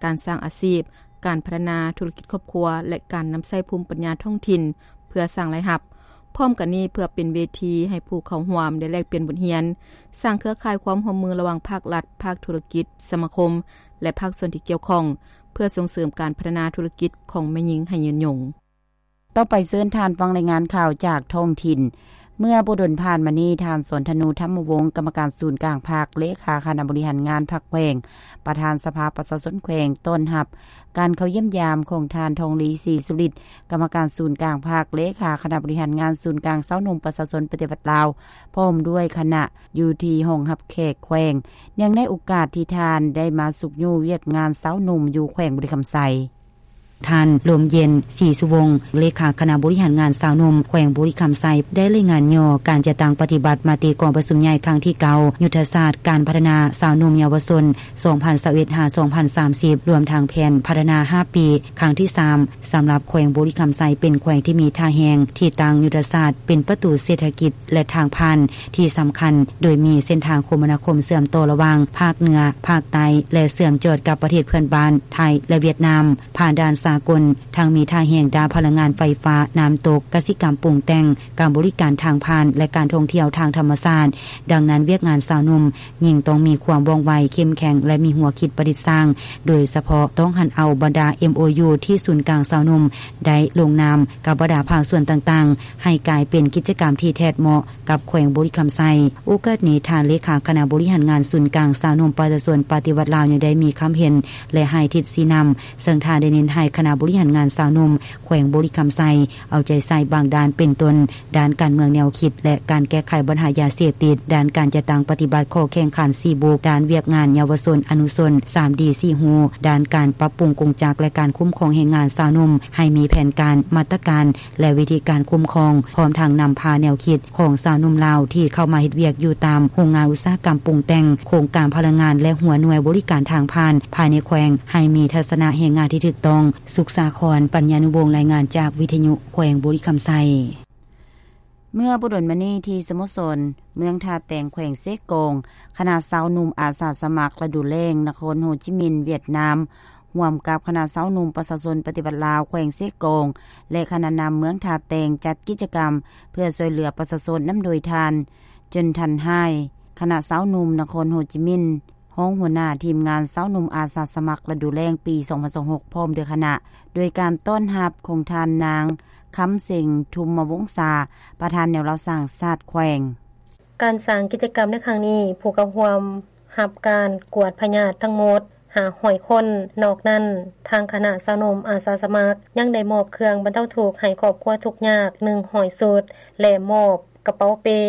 ການສ້າງອາຊີບ, ການພັດທະນາທຸລະກິດຄອບຄົວ ແລະ ການນຳໃຊ້ພູມປັນຍາທ້ອງຖິ່ນເພື່ອສ້າງລາຍຮັບ. ພ້ອມກັນນີ້, ເພື່ອເປັນເວທີໃຫ້ຜູ້ເຂົ້າຮ່ວມໄດ້ແລກປ່ຽນບົດຮຽນ, ສ້າງເຄືອຂ່າຍຄວາມຮ່ວມມືລະຫວ່າງພາກລັດ, ພາກທຸລະກິດ, ສະມາຄົມ ແລະ ພາກສ່ວນທີ່ກ່ຽວຂ້ອງ ເພື່ອສົ່ງເສີມການພັດທະນາທຸລະກິດຂອງແມ່ຍິງໃຫ້ຍືນຍົງ. ຕໍ່ໄປເຊີນທ່ານຟັງລາຍງານຂ່າວຈາກທ້ອງຖິ່ນ. ເມື່ອບໍ່ດົນຜ່ານມານີ້, ທ່ານ ສອນທະນູ ທຳມະວົງ ກຳມະການສູນກາງພັກ, ເລຂາຄະນະບໍລິຫານງານພັກແຂວງ, ປະທານສະພາປະຊາຊົນແຂວງ ຕ້ອນຮັບການເຂົ້າຢ້ຽມຢາມຂອງທ່ານ ທອງລີ ສີສຸລິດ ກຳມະການສູນກາງພັກ, ເລຂາຄະນະບໍລິຫານງານສູນກາງຊາວໜຸ່ມປະຊາຊົນປະຕິວັດລາວ ພ້ອມດ້ວຍຄະນະ ຢູ່ທີ່ຫ້ອງຮັບແຂກແຂວງ. ເນື່ອງໃນໂອກາດທີ່ທ່ານໄດ້ມາຊຸກຍູ້ວຽກງານຊາວໜຸ່ມຢູ່ແຂວງບໍລິຄຳໄຊ. ທ່ານ ລົມເຢັນ ສີສຸວົງ ເລຂາຄະນະບໍລິຫານງານຊາວໜຸ່ມແຂວງບໍລິຄຳໄຊ ໄດ້ລາຍງານຫຍໍ້ການຈັດຕັ້ງປະຕິບັດມະຕິກອງປະຊຸມໃຫຍ່ຄັ້ງທີເກົ້າ ຍຸດທະສາດການພັດທະນາຊາວໜຸ່ມເຍົາວະຊົນ ສອງພັນຊາວເອັດ ຫາ ສອງພັນສາມສິບ ລວມທັງແຜນພັດທະນາຫ້າປີ ຄັ້ງທີສາມ ສຳລັບແຂວງບໍລິຄຳໄຊ ເປັນແຂວງທີ່ມີທ່າແຮງທີ່ຕັ້ງຍຸດທະສາດເປັນປະຕູເສດຖະກິດ ແລະ ທາງຜ່ານທີ່ສຳຄັນ, ໂດຍມີເສັ້ນທາງຄົມມະນາຄົມເຊື່ອມຕໍ່ລະຫວ່າງພາກເໜືອ, ພາກໃຕ້ ແລະ ເຊື່ອມຈອດກັບປະເທດເພື່ອນບ້ານ ໄທ ແລະ ຫວຽດນາມ, ຜ່ານດ່ານສາກົນ, ທັງມີທ່າແຮງດ້ານພະລັງງານໄຟຟ້າ, ນ້ຳຕົກ, ກະສິກຳປຸງແຕ່ງ, ການບໍລິການທາງຜ່ານ ແລະ ການທ່ອງທ່ຽວທາງທຳມະຊາດ. ດັ່ງນັ້ນ, ວຽກງານຊາວໜຸ່ມ ຍິ່ງຕ້ອງມີຄວາມວ່ອງໄວ, ເຂັ້ມແຂງ ແລະ ມີຫົວຄິດປະດິດສ້າງ, ໂດຍສະເພາະຕ້ອງຫັນເອົາບັນດາ ເອັມໂອຢູ ທີ່ສູນກາງຊາວໜຸ່ມໄດ້ລົງນາມກັບບັນດາພາກສ່ວນຕ່າງໆ ໃຫ້ກາຍເປັນກິດຈະກຳທີ່ແທດເໝາະກັບແຂວງບໍລິຄຳໄຊ. ໂອກາດນີ້, ທ່ານເລຂາຄະນະບໍລິຫານງານສູນກາງຊາວໜຸ່ມປະຊາຊົນປະຕິວັດລາວ ຍັງໄດ້ມີຄຳເຫັນ ແລະ ໃຫ້ທິດຊີ້ນຳ, ເຊິ່ງທ່ານໄດ້ເນັ້ນໃຫ້ຄະນະບໍລິຫານງານຊາວໜຸ່ມແຂວງບໍລິຄຳໄຊ ເອົາໃຈໃສ່ບາງດ້ານ ເປັນຕົ້ນ ດ້ານການເມືອງແນວຄິດ ແລະ ການແກ້ໄຂບັນຫາຢາເສບຕິດ, ດ້ານການຈັດຕັ້ງປະຕິບັດຂໍ້ແຂ່ງຂັນສີ່ບຸກ, ດ້ານວຽກງານເຍົາວະຊົນອະນຸຊົນ ສາມດີ ສີ່ຮູ, ດ້ານການປັບປຸງກົງຈັກ ແລະ ການຄຸ້ມຄອງແຮງງານຊາວໜຸ່ມ ໃຫ້ມີແຜນການ, ມາດຕະການ ແລະ ວິທີການຄຸ້ມຄອງ, ພ້ອມທັງນຳພາແນວຄິດຂອງຊາວໜຸ່ມລາວທີ່ເຂົ້າມາເຮັດວຽກຢູ່ຕາມໂຮງງານອຸດສາຫະກຳປຸງແຕ່ງ, ໂຄງການພະລັງງານ ແລະ ຫົວໜ່ວຍບໍລິການທາງຜ່ານ ພາຍໃນແຂວງ ໃຫ້ມີທັດສະນະແຮງງານທີ່ຖືກຕ້ອງ. ສຸກສາຄອນ ປັນຍານຸວົງ ລາຍງານຈາກວິທະຍຸແຂວງບໍລິຄຳໄຊ. ເມື່ອບໍ່ດົນມານີ້ ທີ່ສະໂມສອນເມືອງທ່າແຕງ ແຂວງເຊກອງ, ຄະນະຊາວໜຸ່ມອາສາສະໝັກລະດູແລ້ງນະຄອນໂຮຈິມິນ ຫວຽດນາມ ຮ່ວມກັບຄະນະຊາວໜຸ່ມປະຊາຊົນປະຕິວັດລາວແຂວງເຊກອງ ແລະ ຄະນະນຳເມືອງທ່າແຕງ ຈັດກິດຈະກຳເພື່ອຊ່ວຍເຫຼືອປະຊາຊົນ ນຳໂດຍທ່ານ ເຈິນທັນ ຮາຍ ຄະນະຊາວໜຸ່ມນະຄອນໂຮຈິມິນ ຮອງຫົວໜ້າທີມງານຊາວໜຸ່ມອາສາສະໝັກລະດູແລ້ງປີສອງພັນຊາວຫົກ ພ້ອມດ້ວຍຄະນະ, ໂດຍການຕ້ອນຮັບຂອງທ່ານນາງ ຄຳເສັງ ທຸມມະວົງສາ ປະທານແນວລາວສ້າງຊາດແຂວງ. ການສ້າງກິດຈະກຳໃນຄັ້ງນີ້, ຜູ້ເຂົ້າຮ່ວມຮັບການກວດພະຍາດທັງໝົດຫ້າຮ້ອຍຄົນ. ນອກນັ້ນ, ທາງຄະນະຊາວໜຸ່ມອາສາສະໝັກຍັງໄດ້ມອບເຄື່ອງບັນເທົາທຸກໃຫ້ຄອບຄົວທຸກຍາກໜຶ່ງຮ້ອຍຊຸດ ແລະ ມອບກະເປົາເປ້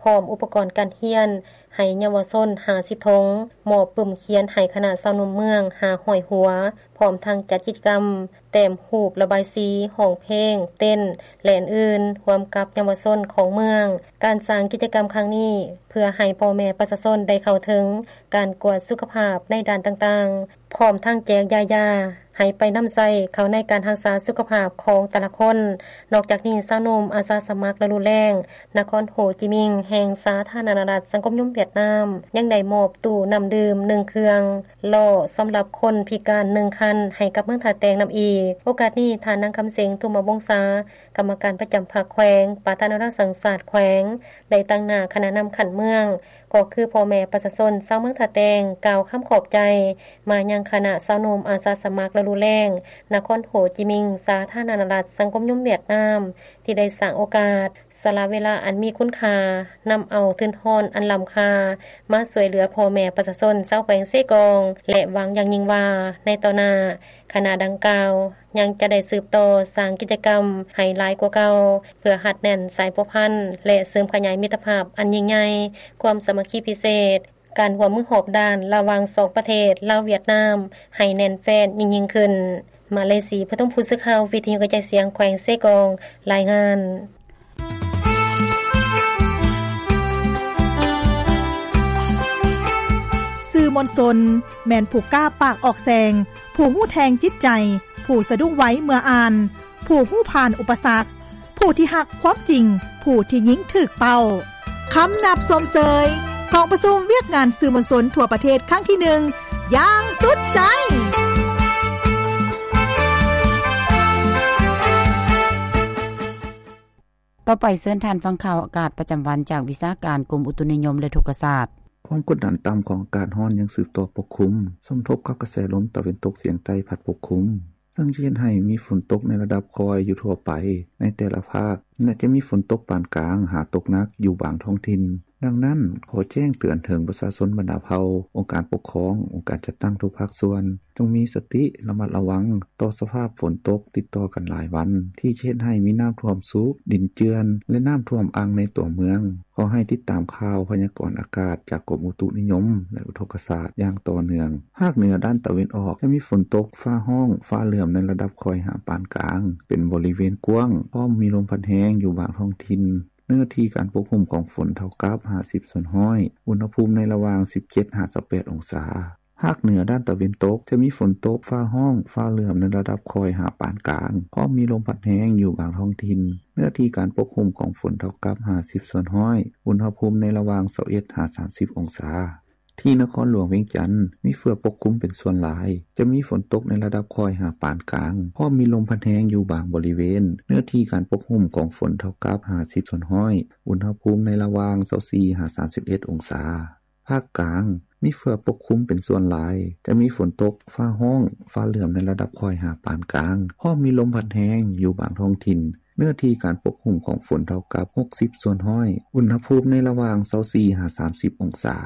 ພ້ອມອຸປະກອນການຮຽນໃຫ້ເຍົາວະຊົນຫ້າສິບຖົງ, ມອບປຶ້ມຂຽນໃຫ້ຄະນະຊາວໜຸ່ມເມືອງຫ້າຮ້ອຍຫົວ, ພ້ອມທັງຈັດກິດຈະກຳແຕ້ມຮູບ, ລະບາຍສີ, ຮ້ອງເພງ, ເຕັ້ນ ແລະ ອື່ນໆ ຮ່ວມກັບເຍົາວະຊົນຂອງເມືອງ. ການສ້າງກິດຈະກຳຄັ້ງນີ້ ເພື່ອໃຫ້ພໍ່ແມ່ປະຊາຊົນໄດ້ເຂົ້າເຖິງການກວດສຸຂະພາບໃນດ້ານຕ່າງໆ, ພ້ອມທັງແຈກຢາຢາໃຫ້ໄປນຳໃຊ້ເຂົ້າໃນການຮັກສາສຸຂະພາບຂອງແຕ່ລະຄົນ. ນອກຈາກນີ້, ຊາວໜຸ່ມອາສາສະໝັກລະດູແລ້ງນະຄອນໂຮຈິມິນ ແຫ່ງສາທາລະນະລັດສັງຄົມນິຍົມຫວຽດນາມ ຍັງໄດ້ມອບຕູ້ນ້ຳດື່ມໜຶ່ງເຄື່ອງ, ລໍ້ສຳລັບຄົນພິການໜຶ່ງຄັນໃຫ້ກັບເມືອງທ່າແຕງນຳອີກ. ໂອກາດນີ້, ທ່ານນາງ ຄຳເສັງ ທຸມມະວົງສາ ກຳມະການປະຈຳພັກແຂວງ, ປະທານແນວລາວສ້າງຊາດແຂວງ ໄດ້ຕາງໜ້າຄະນະນຳຂັ້ນເມືອງ ກໍຄືພໍ່ແມ່ປະຊາຊົນຊາວເມືອງທ່າແຕງ ກ່າວຄຳຂອບໃຈມາຍັງຄະນະຊາວໜຸ່ມອາສາສະໝັກລະດູແລ້ງ ນະຄອນໂຮຈິມິງ ສາທາລະນະລັດສັງຄົມນິຍົມຫວຽດນາມ ທີ່ໄດ້ສ້າງໂອກາດ ສະຫຼະເວລາອັນມີຄຸນຄ່າ ນຳເອົາທຶນຮອນອັນລ້ຳຄ່າ ມາຊ່ວຍເຫຼືອພໍ່ແມ່ປະຊາຊົນຊາວແຂວງເຊກອງ ແລະ ຫວັງຢ່າງຍິ່ງວ່າ ໃນຕໍ່ໜ້າ ຄະນະດັ່ງກ່າວຍັງຈະໄດ້ສືບຕໍ່ສ້າງກິດຈະກຳໃຫ້ຫຼາຍກວ່າເກົ່າ ເພື່ອຮັດແໜ້ນສາຍພົວພັນ ແລະ ເສີມຂະຫຍາຍມິດຕະພາບອັນຍິ່ງໃຫຍ່, ຄວາມສາມັກຄີພິເສດ, ການຮ່ວມມືຮອບດ້ານລະຫວ່າງສອງປະເທດ ລາວ-ຫວຽດນາມ ໃຫ້ແໜ້ນແຟ້ນຍິ່ງໆຂຶ້ນ. ມາເລສີ ປະທຸມ ຜູ້ສື່ຂ່າວວິທະຍຸກະຈາຍສຽງແຂວງເຊກອງ ລາຍງານ. ສື່ມວນຊົນ ແມ່ນຜູ້ກ້າປາກອອກແສງ, ຜູ້ຮູ້ແທງຈິດໃຈ, ຜູ້ສະດຸ້ງໄວເມື່ອອ່ານ, ຜູ້ຮູ້ຜ່ານອຸປະສັກ, ຜູ້ທີ່ຮັກຄວາມຈິງ, ຜູ້ທີ່ຍິງຖືກເປົ້າ. ຄຳນັບຊົມເຊີຍ ກອງປະຊຸມວຽກງານສື່ມວນຊົນທົ່ວປະເທດຄັ້ງທີໜຶ່ງ ຢ່າງສຸດໃຈ. ຕໍ່ໄປເຊີນທ່ານຟັງຂ່າວອາກາດປະຈຳວັນຈາກວິຊາການກົມອຸຕຸນິຍົມ ແລະ ອຸທົກກະສາດ. ຄວາມກົດດັນຕ່ຳຂອງອາກາດຮ້ອນຍັງສືບຕໍ່ປົກຄຸມ, ສົມທົບກັບກະແສລົມຕາເວັນຕົກສຽງໃຕ້ພັດປົກຄຸມ, ເຊິ່ງຈະເຮັດໃຫ້ມີຝົນຕົກໃນລະດັບຄ່ອຍຢູ່ທົ່ວໄປໃນແຕ່ລະພາກ ແລະ ຈະມີຝົນຕົກປານກາງຫາຕົກໜັກຢູ່ບາງທ້ອງຖິ່ນ. ດັ່ງນັ້ນ, ຂໍແຈ້ງເຕືອນເຖິງປະຊາຊົນບັນດາເຜົ່າ, ອົງການປົກຄອງ, ອົງການຈັດຕັ້ງທຸກພາກສ່ວນ, ຈົ່ງມີສະຕິລະມັດລະວັງຕໍ່ສະພາບຝົນຕົກຕິດຕໍ່ກັນຫຼາຍວັນ ທີ່ຈະເຮັດໃຫ້ມີນ້ຳຖ້ວມຊຸ, ດິນເຈື່ອນ ແລະ ນ້ຳຖ້ວມອັ່ງໃນຕົວເມືອງ. ຂໍໃຫ້ຕິດຕາມຂ່າວພະຍາກອນອາກາດຈາກກົມອຸຕຸນິຍົມ ແລະ ອຸທົກກະສາດຢ່າງຕໍ່ເນື່ອງ. ພາກເໜືອດ້ານຕາເວັນອອກຈະມີຝົນຕົກ, ຟ້າຮ້ອງ, ຟ້າເຫຼື້ອມໃນລະດັບຄ່ອຍຫາປານກາງ ເປັນບໍລິເວນກວ້າງ, ພ້ອມມີລົມພັດແຮງຢູ່ບາງທ້ອງຖິ່ນ. ເນື້ອທີ່ການປົກຄຸມຂອງຝົນເທົ່າກັບຫ້າສິບສ່ວນຮ້ອຍ, ອຸນຫະພູມໃນລະຫວ່າງສິບເຈັດຫາຊາວແປດອົງສາ. ພາກເໜືອດ້ານຕາເວັນຕົກຈະມີຝົນຕົກ, ຟ້າຮ້ອງ, ຟ້າເຫຼື້ອມໃນລະດັບຄ່ອຍຫາປານກາງ, ພ້ອມມີລົມພັດແຮງຢູ່ບາງທ້ອງຖິ່ນ. ເນື້ອທີ່ການປົກຄຸມຂອງຝົນເທົ່າກັບຫ້າສິບສ່ວນຮ້ອຍ, ອຸນຫະພູມໃນລະຫວ່າງຊາວເອັດຫາສາມສິບອົງສາ. ທີ່ນະຄອນຫຼວງວຽງຈັນ ມີເຝືອປົກຄຸມເປັນສ່ວນຫຼາຍ, ຈະມີຝົນຕົກໃນລະດັບຄ່ອຍຫາປານກາງ, ພ້ອມມີລົມພັດແຮງຢູ່ບາງບໍລິເວນ. ເນື້ອທີ່ການປົກຄຸມຂອງຝົນເທົ່າກັບຫ້າສິບສ່ວນຮ້ອຍ, ອຸນຫະພູມໃນລະຫວ່າງຊາວສີ່ຫາສາມສິບເອັດອົງສາ. ພາກກາງ ມີເຝືອປົກຄຸມເປັນສ່ວນຫຼາຍ, ຈະມີຝົນຕົກ, ຟ້າຮ້ອງ, ຟ້າເຫຼື້ອມໃນລະດັບຄ່ອຍຫາປານກາງ, ພ້ອມມີລົມພັດແຮງຢູ່ບາງທ້ອງຖິ່ນ. ເນື້ອທີ່ການປົກຄຸມຂອງຝົນເທົ່າກັບຫົກສິບສ່ວນຮ້ອຍ, ອຸນຫະພູມໃນລະຫວ່າງຊາວສີ່ຫາສາມສິບອົງສາ.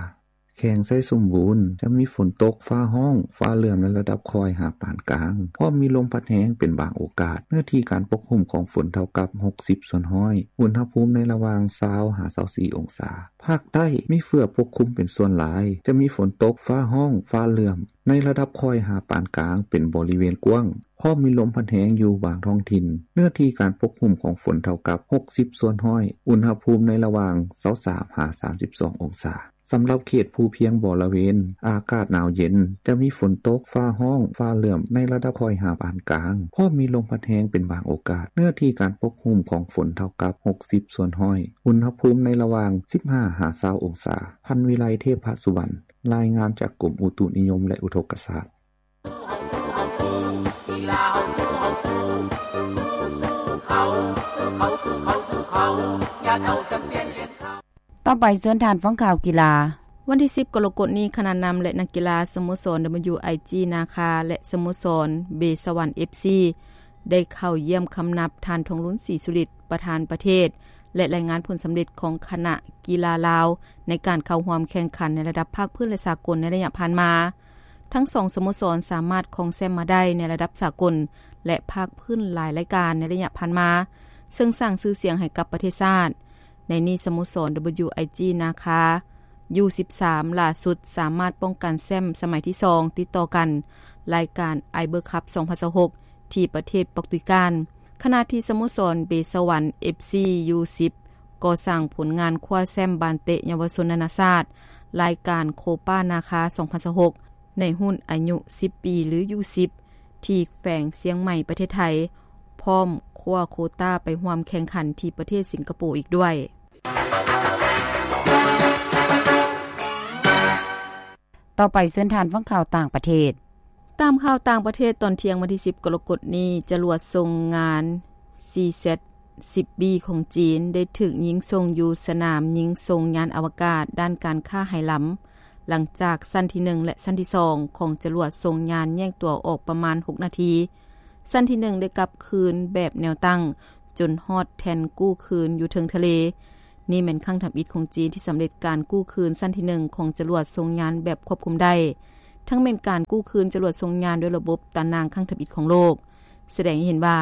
ແຂວງໄຊສົມບູນ ຈະມີຝົນຕົກ, ຟ້າຮ້ອງ, ຟ້າເຫຼື້ອມໃນລະດັບຄ່ອຍຫາປານກາງ, ພ້ອມມີລົມພັດແຮງເປັນບາງໂອກາດ. ເນື້ອທີ່ການປົກຄຸມຂອງຝົນເທົ່າກັບຫົກສິບສ່ວນຮ້ອຍ, ອຸນຫະພູມໃນລະຫວ່າງຊາວຫາຊາວສີ່ອົງສາ. ພາກໃຕ້ ມີເຝືອປົກຄຸມເປັນສ່ວນຫຼາຍ, ຈະມີຝົນຕົກ, ຟ້າຮ້ອງ, ຟ້າເຫຼື້ອມ ໃນລະດັບຄ່ອຍຫາປານກາງເປັນບໍລິເວນກວ້າງ, ພ້ອມມີລົມພັດແຮງຢູ່ບາງທ້ອງຖິ່ນ. ເນື້ອທີ່ການປົກຄຸມຂອງຝົນເທົ່າກັບຫົກສິບສ່ວນຮ້ອຍ, ອຸນຫະພູມໃນລະຫວ່າງຊາວສາມຫາສາມສິບສອງອົງສາ. ສຳລັບເຂດພູພຽງບໍລະເວນ ອາກາດໜາວເຢັນ, ຈະມີຝົນຕົກ, ຟ້າຮ້ອງ, ຟ້າເຫຼື້ອມ ໃນລະດັບຄ່ອຍຫາປານກາງ, ພ້ອມມີລົມພັດແຮງເປັນບາງໂອກາດ. ເນື້ອທີ່ການປົກຄຸມຂອງຝົນເທົ່າກັບຫົກສິບສ່ວນຮ້ອຍ, ອຸນຫະພູມໃນລະຫວ່າງສິບຫ້າຫາຊາວອົງສາ. ພັນວິໄລ ເທບພະສຸວັນ ລາຍງານຈາກກົມອຸຕຸນິຍົມ ແລະ ອຸທົກກະສາດ. ຕໍ່ໄປເຊີນທ່ານຟັງຂ່າວກິລາ. ວັນທີສິບ ກໍລະກົດນີ້ ຄະນະນຳ ແລະ ນັກກິລາສະໂມສອນ WIG ນາຄາ ແລະ ສະໂມສອນເບສະຫວັນ ເອັຟຊີ ໄດ້ເຂົ້າຢ້ຽມຄຳນັບທ່ານ ທອງລຸນ ສີສຸລິດ ປະທານປະເທດ ແລະ ລາຍງານຜົນສຳເລັດຂອງຄະນະກິລາລາວ ໃນການເຂົ້າຮ່ວມແຂ່ງຂັນໃນລະດັບພາກພື້ນ ແລະ ສາກົນໃນໄລຍະຜ່ານມາ. ທັງສອງສະໂມສອນສາມາດຄອງແຊ້ມມາໄດ້ໃນລະດັບສາກົນ ແລະ ພາກພື້ນຫຼາຍລາຍການໃນໄລຍະຜ່ານມາ, ເຊິ່ງສ້າງຊື່ສຽງໃຫ້ກັບປະເທດຊາດ. ໃນນີ້ສະໂມສອນ WIG ນາຄາ ຢູສິບສາມ ຫຼ້າສຸດສາມາດປ້ອງກັນແຊ້ມສະໄໝທີສອງຕິດຕໍ່ກັນ ລາຍການ Iber Cup ສອງພັນຊາວຫົກ ທີ່ປະເທດປອກຕຸຍການ, ຂະນະທີ່ສະໂມສອນເບສະຫວັນ ເອັຟຊີ ຢູສິບ ກໍສ້າງຜົນງານຄວ້າແຊ້ມບານເຕະເຍົາວະຊົນນານາຊາດ ລາຍການໂຄປານາຄາ ສອງພັນຊາວຫົກ ໃນຮຸ່ນອາຍຸສິບປີ ຫຼື ຢູສິບ ທີ່ແຂວງຊຽງໃໝ່ ປະເທດໄທ, ພ້ອມຄວ້າໂຄຕ້າໄປຮ່ວມແຂ່ງຂັນທີ່ປະເທດສິງກະໂປອີກດ້ວຍ. ຕໍ່ໄປເຊີນທ່ານຟັງຂ່າວຕ່າງປະເທດ. ຕາມຂ່າວຕ່າງປະເທດ, ຕອນທ່ຽງວັນທີສິບ ກໍລະກົດນີ້, ຈະລວດສົ່ງງານ ຊີແຊັດ ສິບບີຂອງຈີນ ໄດ້ຖືກຍິງສົ່ງຢູ່ສະໜາມຍິງສົ່ງຍານອະວະກາດດ້ານການຄ້າໄຮລຳ ຫຼັງຈາກຊັ້ນທີໜຶ່ງ ແລະ ຊັ້ນທີສອງ ຂອງຈະຫຼວດສົ່ງຍານແຍກຕົວອອກປະມານຫົກນາທີ. ຊັ້ນທີໜຶ່ງ ໄດ້ກັບຄືນແບບແນວຕັ້ງ ຈົນຮອດແທ່ນກູ້ຄືນຢູ່ເທິງທະເລ. ນີ້ແມ່ນຄັ້ງທຳອິດຂອງຈີນທີ່ສຳເລັດການກູ້ຄືນຊັ້ນທີໜຶ່ງຂອງຈະຫຼວດສົ່ງຍານແບບຄວບຄຸມໄດ້, ທັງແມ່ນການກູ້ຄືນຈະຫຼວດສົ່ງຍານດ້ວຍລະບົບຕາໜ່າງຄັ້ງທຳອິດຂອງໂລກ, ສະແດງໃຫ້ເຫັນວ່າ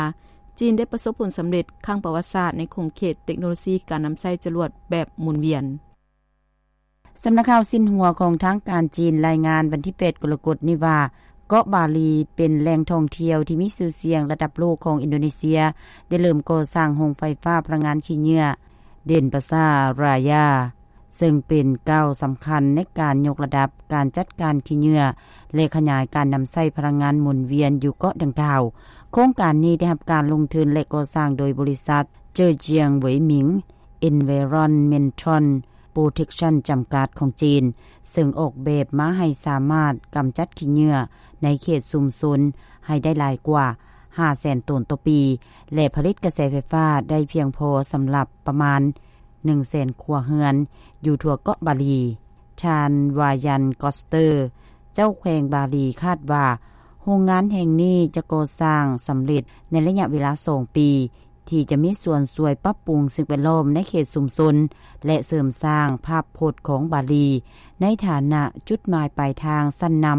ຈີນໄດ້ປະສົບຜົນສຳເລັດຄັ້ງປະຫວັດສາດໃນຂົງເຂດເຕັກໂນໂລຊີການນຳໃຊ້ຈະຫຼວດແບບໝູນວຽນ. ສຳນັກຂ່າວຊິນຫົວຂອງທາງການຈີນລາຍງານວັນທີແປດກໍລະກົດນີ້ວ່າ ເກາະບາລີເປັນແຫຼ່ງທ່ອງທ່ຽວທີ່ມີຊື່ສຽງລະດັບໂລກຂອງອິນໂດເນເຊຍ ໄດ້ເລີ່ມກໍ່ສ້າງໂຮງໄຟຟ້າພະລັງງານຂີ້ເຫຍື້ອ ເດນປາຊາຣາຍາ ເຊິ່ງເປັນກ້າວສຳຄັນໃນການຍົກລະດັບການຈັດການຂີ້ເຫຍື້ອ ແລະ ຂະຫຍາຍການນຳໃຊ້ພະລັງງານໝູນວຽນຢູ່ເກາະດັ່ງກ່າວ. ໂຄງການນີ້ໄດ້ຮັບການລົງທຶນ ແລະ ກໍ່ສ້າງໂດຍບໍລິສັດ Zhejiang Weimin Environmental Protection ຈຳກັດຂອງຈີນ, ເຊິ່ງອອກແບບມາໃຫ້ສາມາດກຳຈັດຂີ້ເຫຍື້ອໃນເຂດຊຸມຊົນໃຫ້ໄດ້ຫຼາຍກວ່າຫ້າແສນໂຕນຕໍ່ປີ ແລະ ຜະລິດກະແສໄຟຟ້າໄດ້ພຽງພໍສຳລັບປະມານໜຶ່ງແສນຄົວເຮືອນຢູ່ທົ່ວເກາະບາລີ. ທ່ານ ວາຢັນ ກອສເຕີ ເຈົ້າແຂວງບາລີ ຄາດວ່າໂຮງງານແຫ່ງນີ້ຈະກໍ່ສ້າງສຳເລັດໃນໄລຍະເວລາສອງປີ ທີ່ຈະມີສ່ວນຊ່ວຍປັບປຸງສິ່ງແວດລ້ອມໃນເຂດຊຸມຊົນ ແລະ ເສີມສ້າງພາບພົດຂອງບາລີໃນຖານະຈຸດໝາຍປາຍທາງຊັ້ນນຳ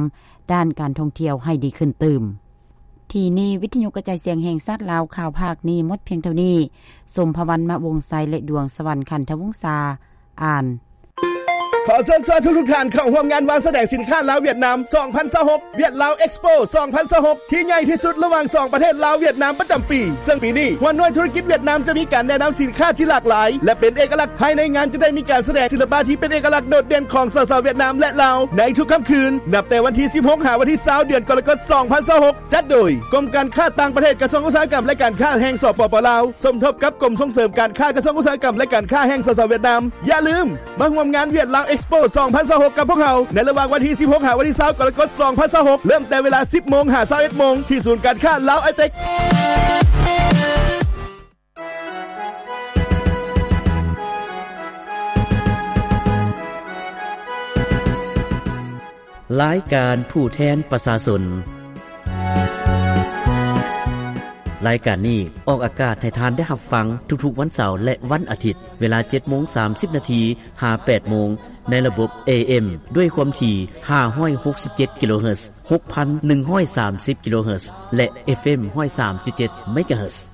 ດ້ານການທ່ອງທ່ຽວໃຫ້ດີຂຶ້ນຕື່ມ. ທີ່ນີ້ ວິທະຍຸກະຈາຍສຽງແຫ່ງຊາດລາວ ຂ່າວພາກນີ້ໝົດພຽງເທົ່ານີ້. ສົມພະວັນ ມະວົງໄຊ ແລະ ດວງສະຫວັນ ຂັນທະວົງສາ ອ່ານ. ຂໍເຊີນຊວນທຸກໆທ່ານເຂົ້າຮ່ວມງານວາງສະແດງສິນຄ້າລາວ-ຫວຽດນາມ ສອງພັນຊາວຫົກ ຫວຽດລາວເອັກສະໂປ ສອງພັນຊາວຫົກ ທີ່ໃຫຍ່ທີ່ສຸດລະຫວ່າງສອງປະເທດລາວ-ຫວຽດນາມປະຈຳປີ. ເຊິ່ງປີນີ້ ຫົວໜ່ວຍທຸລະກິດຫວຽດນາມຈະມີການແນະນຳສິນຄ້າທີ່ຫຼາກຫຼາຍ ແລະ ເປັນເອກະລັກ. ພາຍໃນງານຈະໄດ້ມີການສະແດງສິລະປະທີ່ເປັນເອກະລັກໂດດເດັ່ນຂອງ ສສ ຫວຽດນາມ ແລະ ລາວ ໃນທຸກຄ່ຳຄືນ ນັບແຕ່ວັນທີສິບຫົກ ຫາວັນທີຊາວ ເດືອນກໍລະກົດ ສອງພັນຊາວຫົກ. ຈັດໂດຍ ກົມການຄ້າຕ່າງປະເທດ ກະຊວງອຸດສາຫະກຳ ແລະ ການຄ້າແຫ່ງ ສປປ ລາວ ສົມທົບກັບກົມສົ່ງເສີມການຄ້າ ກະຊວງອຸດສາຫະກຳ ແລະ ການຄ້າແຫ່ງ ສສ ຫວຽດນາມ. ຢ່າລືມມາຮ່ວມງານຫວຽດລາວເອັກສະໂປ ສອງພັນຊາວຫົກ ກັບພວກເຮົາ ໃນລະຫວ່າງວັນທີສິບຫົກ ຫາວັນທີຊາວ ກໍລະກົດ ສອງພັນຊາວຫົກ ເລີ່ມແຕ່ເວລາສິບໂມງ ຫາຊາວເອັດໂມງ ທີ່ສູນການຄ້າລາວໄອເຕັກ. ລາຍການຜູ້ແທນປະຊາຊົນ. ລາຍການນີ້ອອກອາກາດໃຫ້ທ່ານໄດ້ຮັບຟັງທຸກໆວັນເສົາ ແລະ ວັນອາທິດ ເວລາເຈັດໂມງສາມສິບນາທີ ຫາແປດໂມງ ໃນລະບົບ ເອເອັມ ດ້ວຍຄວາມຖີ່ ຫ້າຮ້ອຍຫົກສິບເຈັດ ກິໂລເຮີດ, ຫົກພັນໜຶ່ງຮ້ອຍສາມສິບ ກິໂລເຮີດ ແລະ ເອັຟເອັມ ຮ້ອຍສາມຈຸດເຈັດ ເມກາເຮີດ.